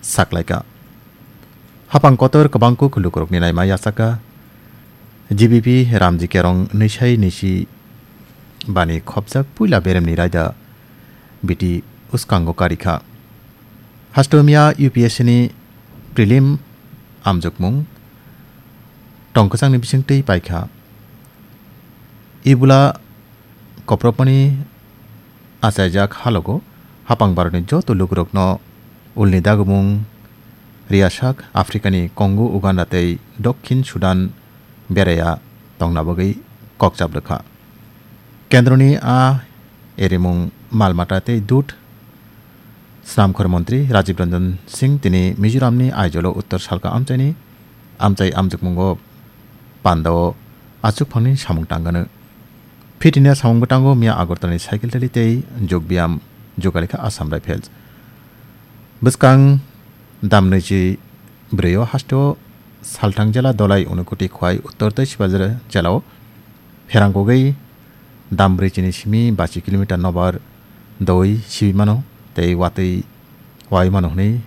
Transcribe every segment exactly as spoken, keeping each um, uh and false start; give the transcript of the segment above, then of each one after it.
saklaikha. Hapang kotor kwbangkuk lukurokni naima yachakha. G B P Ramji Kerong nwisai nisi bani khopjak puila beremni raida biti uskango karikha. Hasteo miya U P S C ni prelim amjokmung tongkwchangni bisingtwi paikha. Ibula koprokmani achaijak halogo hapang baroni joto lukurokno ulni dagumung riyasak Africani Congo, Uganda tei Dokhin Sudan beraiya tongna bagwi kokchap rwkha. Kendroni a erimung malmata tei dut Snamkhor montri Rajiv Ranjan Singh tini Mizoramni Aizawl-o Uttor Salka amchaini amchai amjokmungo pandao achukphangni samung tangano. Fitness samung bwtango miya Agartalani cycle rally tei jog biyam jugalikha Assam Rifles. Bwskang dam nwichi brwi o hasteo Salthang jela Dolai Unakoti Khwai Uttor tei Sibajra jela o pherang kogwi dam brwi chini simi bachi kilometer nobar doi sibi mano tei watwi wai mano hwnwi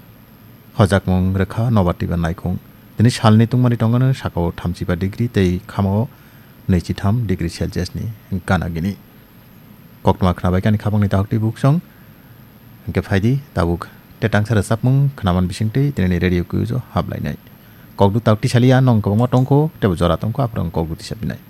hojakmung rwkha nobar twibar naikhung. Tini salni tungmani tongano sakao thamchiba degree tei khamao nwichitham degree Celsius ni gana gini. Koktwma khnabai kani khapangni dahoktwi buksong. Hwnkhe phaidi tabuk tetangsa rwchapmung khnaman bisingtwi tinini radio kuijo hablainai. Kokdu tabuk tisaliya nong kwbangma tongkho teibo jora tongkho aphuru ang kokdu tisapinai.